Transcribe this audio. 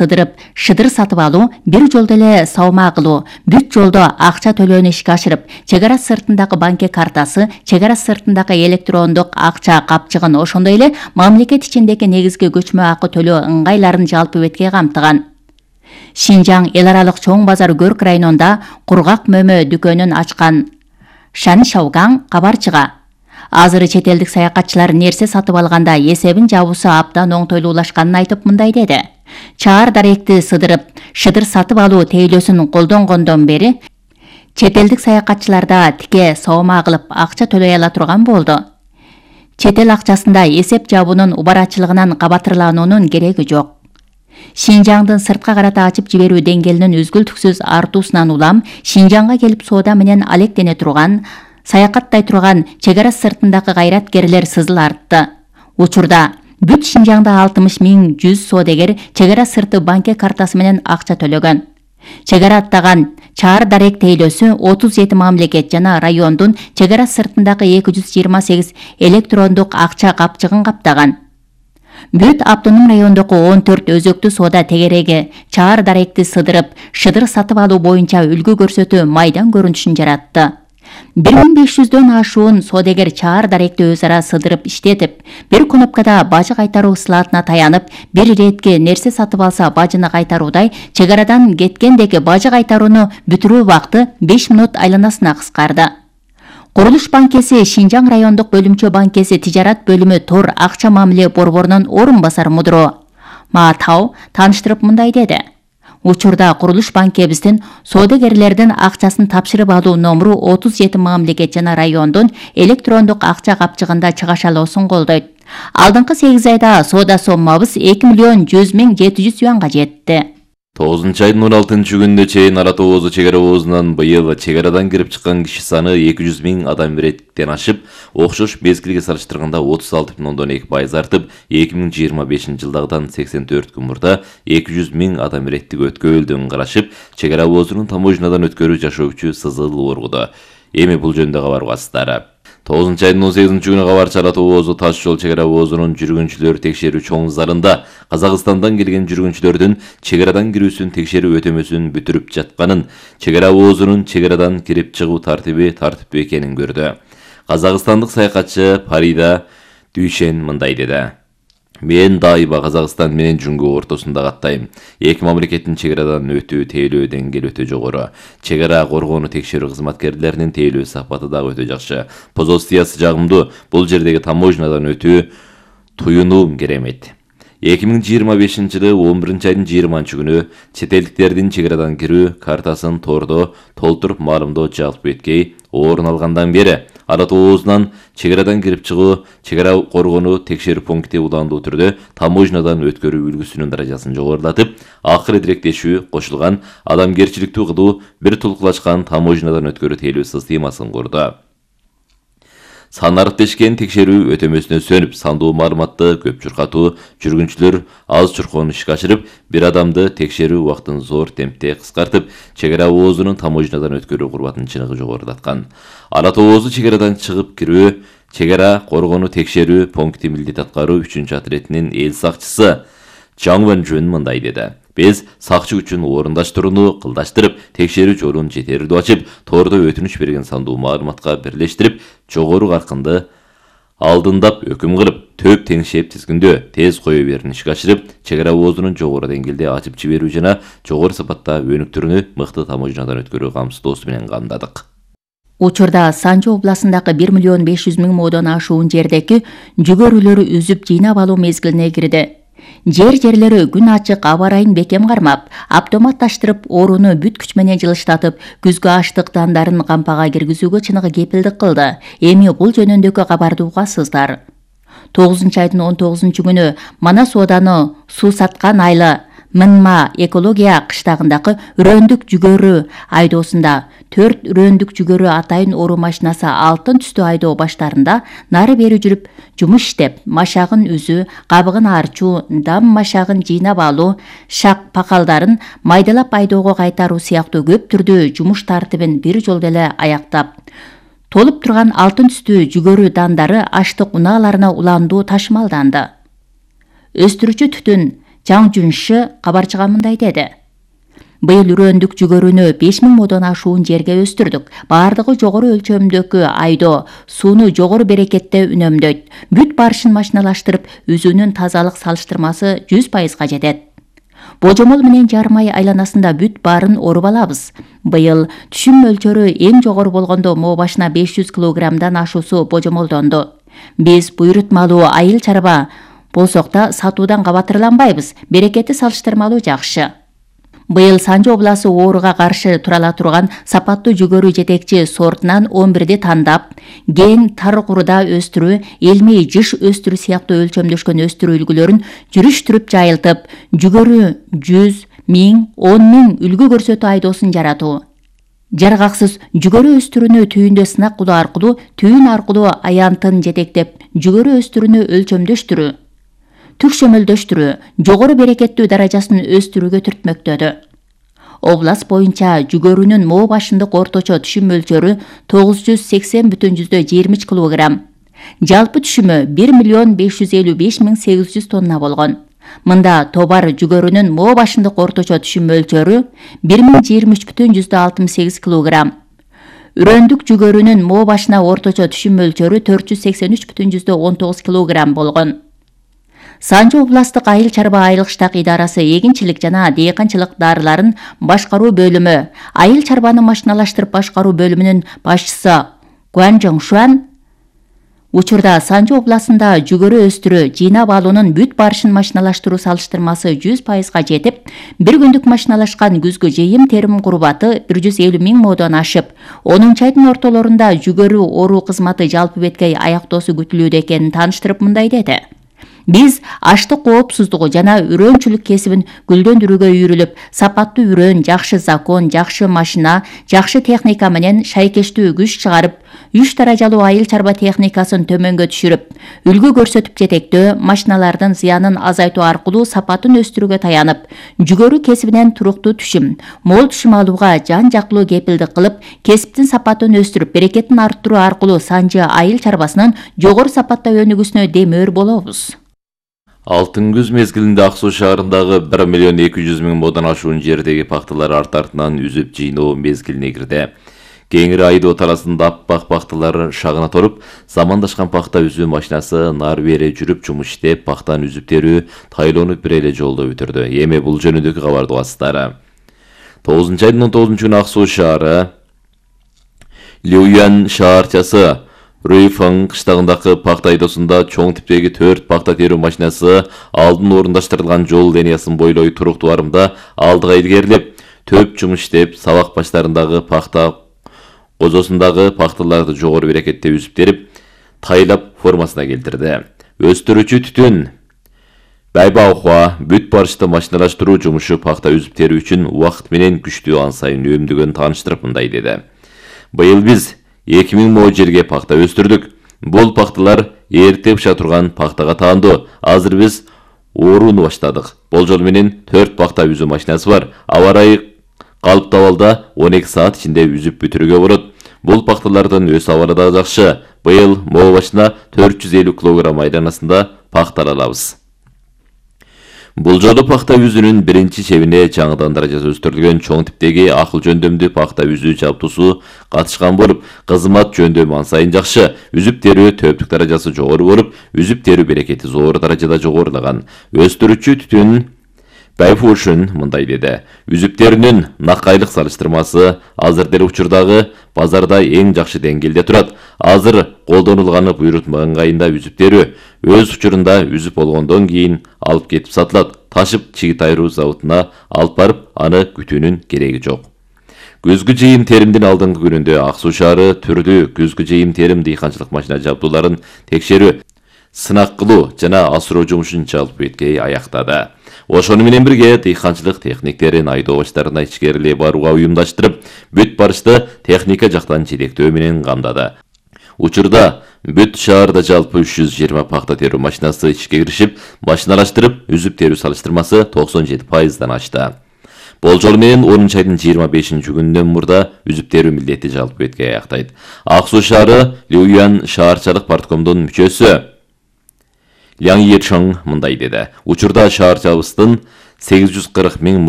сыдырып, шыдыр сатып алуу, бир жолдо эле саумаа кылуу, бүт жолдо акча төлөөнү ишке ашырып, чек ара сыртындагы банк картасы, чек ара сыртындагы электрондук акча капчыгын, ошондой эле мамлекет ичиндеги негизги көчмө акы төлөө ыңгайларын жалпы бетке камтыган. Шинжаң эл аралык чоң базар Көрк районунда кургак мөмө дүкөнүн ачкан Шан Шаугаң кабарчыга. Азыр чет элдик саякатчылар нерсе сатып алганда эсебин жабуусу абдан оңтойлуулашканын айтып мындай деди. Чаар даректи сыдырып, шыдыр сатып алуу тейлөөсүн колдонгондон бери чет элдик саякатчыларда тике саумаа кылып акча төлөй ала турган болду. Чет эл акчасында эсеп жабуунун убарачылыгынан кабатырлануунун кереги жок. Шинжаңдын сыртка карата ачып жиберүү деңгээлинин үзгүлтүксүз артуусунан улам Шинжаңга келип соода менен алектене турган, саякаттай турган чек ара сыртындагы кайраткерлер сызыл артты. Учурда бүт Шинжаңда 60.100 соодагер чек ара сырты банк картасы менен акча төлөгөн. Чек ара аттаган чаар дарек тейлөөсү 37 мамлекет жана райондун чек ара сыртындагы 228 электрондук акча капчыгын каптаган. Бүт автоном райондогу 14 өзөктүү соода тегереги чаар даректи сыдырып, шыдыр сатып алуу боюнча үлгү көрсөтүү майдан көрүнүшүн жаратты. 1500дөн ашуун соодагер чаар даректи өз ара сыдырып иштетип, бир кнопкада бажы кайтаруу слотуна таянып, бир иретке нерсе сатып алса бажыны кайтаруудай, чек арадан кеткендеги бажы кайтарууну бүтүрүү убакыты 5 минут айланасына кыскарды. Курулуш банкеси Шинжаң райондук бөлүмчө банкеси тижарат бөлүмү Тор акча мамиле борборунун орун басар мудуру Ма Тау тааныштырып мындай деди. Учурда курулуш банкебиздин соодагерлердин акчасын тапшырып алуу номуру 37 мамлекет жана райондун электрондук акча капчыгында чыгашалоосун колдойт. Алдыңкы 8 айда соода соммабыз 2.100.700 юанга жетти. 9-айдын 16 күнүнө чейин Ара Тоозу чек ара оозунан быйыл чек арадан кирип чыккан киши саны 200.000 адам реттен ашып, окшош мезгилге салыштырганда 36,2% артып, 2025 жылдагыдан 84 күн мурда 200.000 адам реттик өткөлдөн карашып, чек ара оозунун таможнядан өткөрүү жашоочу сызыл оргуду. Эми бул жөнүндө кабар угасыздар. 9-айдын 18 күнү кабарчы Ара Тоозу таш жол чек ара оозунун жүргүнчүлөр текшерүү чоң залында Казакстандан келген жүргүнчүлөрдүн чек арадан кирүүсүн текшерүү өтөмөсүн бүтүрүп жатканын, чек ара оозунун чек арадан кирип чыгуу тартиби тартиптүү экенин көрдү. Казакстандык саякатчы Парида Дүйшен мындай деди. Мен дайыма Казакстан менен Жүнгө ортосунда каттайм. Эки мамлекеттин чек арадан өтүү тейлөө деңгээли өтө жогору. Чек ара коргоону текшерүү кызматкерлеринин тейлөө сапаты дагы өтө жакшы. Позициясы жагымдуу. Бул жердеги таможнядан өтүү туюнуум керемет. 2025 жылы 11-айдын 20 күнү чет элдиктердин чек арадан кирүү картасын Тордо толтуруп маалымдоо жалпы эткей орун алгандан бери Ара Тоозунан чек арадан кирип чыгуу, чек ара коргоону текшерүү пункти уландуу түрдө таможнядан өткөрүү үлгүсүнүн даражасын жогорулатып, акыры директешүү кошулган адамгерчиликтүү кылуу бир тулкулашкан таможнядан өткөрүү тейлөө системасын курду. Санарыктешкен текшерүү өтөмөсүнө сөнүп, сандуу маалыматты көп чуркатуу, жүргүнчүлөр аз чуркоону ишке ашырып, бир адамды текшерүү убактын зор темпте кыскартып, чек ара оозунун таможнядан өткөрүү курбатынын чыныгы жогорулаткан. Ара Тоозу чек арадан чыгып кирүү, чек ара коргоону текшерүү пункти милдет аткаруу 3-отрядынын эл сакчысы Чаң Вэнжүн мындай деди. Биз сакчы үчүн орундаштырууну кылдаштырып, текшерүү жолун жетердүү ачып, Тордо өтүнүч берген сандуу маалыматка бирлештирип, жогору каркынды алдындап өкүм кылып, төп теңшеп тизгиндөө, тез кое берүүнү ишке ашырып, чек ара оозунун жогору деңгээлде ачып жиберүү жана жогору сапатта өнүктүрүүнү мыкты таможнядан өткөрүү камсыздоосу менен камдадык. Учурда Санжы областындагы 1.500.000 модон ашуун жердеги жүгөрүлөрү үзүп жыйнап алуу мезгилине кирди. Жерлери күн ачык аба ырайын бекем кармап, автоматташтырып, орууну бүт күч менен жылыштатып, күзгү аштык дандарын кампага киргизүүгө чыныгы кепилдик кылды. Эми бул жөнүндөгү кабарды угасыздар. 9-айдын 19 күнү Манас ооданы суу саткан айlı Мынма экология кыштагындагы үрөндүк жүгөрү айдоосунда 4 үрөндүк жүгөрү атайын оруу машинасы алтын түстүү айдоо баштарында нары бери жүрүп жумуш иштеп, машагын үзүү, кабыгын арчуу, дам машагын жыйнап алуу, шак пакалдарын майдалап айдоого кайтаруу сыяктуу көп түрдүү жумуш тартибин бир жолдо эле аяктап, толуп турган алтын түстүү жүгөрү дандары аштык унааларына уландуу ташымалданды. Өстүрүүчү түтүн Жаң Жуншы кабарчыга мындай деди. Быйыл үрөндүк жүгөрүнү 5000 модон ашуун жерге өстүрдүк. Бардыгы жогору өлчөмдөгү айдоо, сууну жогору берекетте үнөмдөйт. Бүт барышын машиналаштырып, үзүүнүн тазалык салыштырмасы 100% жетет. Божомол менен жарым ай айланасында бүт барын оруп алабыз. Быйыл түшүм мөлчөрү эң жогору болгондо мо башына 500 килограммдан ашуусу божомолдонду. Биз буйрутмалуу айыл чарба болсок да сатуудан кабатырланбайбыз. Берекети салыштырмалуу жакшы. Быйыл Санжы обласы ооруга каршы тура ала турган сапаттуу жүгөрү жетекчи сортунан 11ди тандап, ген тар куруда өстүрүү, элмей жыш өстүрүү сыяктуу өлчөмдөшкөн өстүрүү үлгүлөрүн жүрүштүрүп жайылтып, жүгөрү 100, 1000, 10.000 үлгү көрсөтүү айдоосун жаратуу. Жаргаксыз жүгөрү өстүрүүнү түйүндө сынак кылуу аркылуу, түйүн аркылуу аянтын жетектеп, жүгөрү өстүрүүнү өлчөмдөштүрүү, түкшөмөлдөштүрүү, жогору берекеттүү даражасын өстүрүүгө түртмөктөдү. Област боюнча жүгөрүнүн мо башындык орточо түшүм мөлчөрү 980,23 кг. Жалпы түшүмү 1.555.800 тонна болгон. Мында тобар жүгөрүнүн мо башындык орточо түшүм мөлчөрү 1023,68 кг. Үрөндүк жүгөрүнүн мо башына орточо түшүм мөлчөрү 483,19 кг болгон. Санжы областык айыл чарба айылык штак идарасы эгинчилик жана дыйканчылык дарыларын башкаруу бөлүмү, айыл чарбаны машиналаштырып башкаруу бөлүмүнүн башчысы Гуан Жоңшуан учурда Санжы областында жүгөрү өстүрүү, жыйнап алуунун бүт барышын машиналаштыруу салыштырмасы 100% жетип, бир күндүк машиналашкан күзгү жыйым терим курбаты 150.000 модон ашып, 10 айдын ортолорунда жүгөрү оруу кызматы жалпы беткей аяктоосу күтүлүүдө экенин тааныштырып мындай деди. Биз аштык коопсуздугу жана үрөөнчүлүк кесибин гүлдөндүрүүгө үйрүлүп, сапаттуу үрөөн, жакшы закон, жакшы машина, жакшы техника менен шайкештүү күч чыгарып, 3 даражалуу айыл чарба техникасын төмөнгө түшүрүп, үлгү көрсөтүп жетектөө, машиналардын зыянын азайтуу аркылуу сапатын өстүрүүгө таянып, жүгөрү кесибинен туруктуу түшүм, мол түшүм алууга жан жактылуу кепилдик кылып, кесиптин сапатын өстүрүп, берекетин арттыруу аркылуу Санжы айыл чарбасынын жогору сапатта өнүгүүсүнө демөөр болобуз. Алтын күз мезгилинде Ак Суу шаарындагы 1.200.000 модон ашуун жердеги пахталар арт-артынан үзүп жыйноо мезгилине кирди. Кеңири айдоо таласында аппак пахталар шагына торуп, замандашкан пахта үзүү машинасы нары бери жүрүп жумуш иштеп, пахтаны үзүп терүү тайлонуп бир эле жолдо бүтүрдү. Эми бул жөнүндөгү кабарды угасыздар. 9 айдын 19 күнү Ак Суу шаары Люян шаарчасы Руйфан кыштагындагы пахта айдоосунда чоң типтеги 4 пахта терүү машинасы алдын орундаштырылган жол линиясын бойлой туруктуу барымда алдыга илгерилеп, төп жумуш иштеп, сабак баштарындагы пахта козосундагы пахталарды жогору берекетте үзүп терип, тайлап формасына келтирди. Өстүрүүчү түтүн Байбаухва бүт барышты машиналаштыруу жумушу пахта үзүп терүү үчүн убакыт менен күчтүү ан сайын үнөмдөгөн тааныштырып мындай деди. Быйыл биз 2000 мо жерге пахта өстүрдүк. Бул пахталар эрте быша турган пахтага таандуу. Азыр биз орууну баштадык. Болжол менен 4 пахта үзүү машинасы бар. Аба ырайы калыптуу абалда 12 саат ичинде үзүп бүтүрүүгө болот. Бул пахталардын өс абалы да жакшы. Быйыл мо башына 450 кг айланасында пахта алабыз. Бул жолу пахта үзүүнүн биринчи чебине жаңыдан даражасы өстүрүлгөн чоң типтеги акыл жөндөмдүү пахта үзүү жабдуусу катышкан болуп, кызмат жөндөмү ан сайын жакшы. Үзүп терүү төптүк даражасы жогору болуп, үзүп терүү берекети зор даражада жогорулаган. Өстүрүүчү түтүн Байфушун мындай деди. Үзүп терүүнүн накайлык салыштырмасы азыр деле учурдагы базарда эң жакшы деңгээлде турат. Азыр колдонулганы буйрутма ыңгайында үзүп терүү. Өз учурунда үзүп болгондон кийин алып кетип сатылат. Ташып чигит айыруу заводуна алып барып, аны күтүүнүн кереги жок. Күзгү жыйым теримдин алдыңкы күнүндө Ак Суу шаары түрдүү күзгү жыйым терим дыйканчылык машина жабдууларын текшерүү, сынак кылуу жана асыроо жумушун жалпы беткей аяктады. Ошону менен бирге дыйканчылык техниктерин айдоо баштарына ичкерилей барууга уюмдаштырып, бүт барышты техника жактан жетектөө менен камдады. Учурда бүт шаарда жалпы 320 пахта терүү машинасы ишке киришип, машиналаштырып, үзүп терүү салыштырмасы 97%дан ашты. Болжол менен 10 айдын 25 күнүнөн мурда үзүп терүү милдети жалпы беткей аяктайт. Ак Суу шаары Люян шаарчалык парткомдун мүчөсү Яң Ечоң мындай деди. Учурда шаар чабыстын 840 миң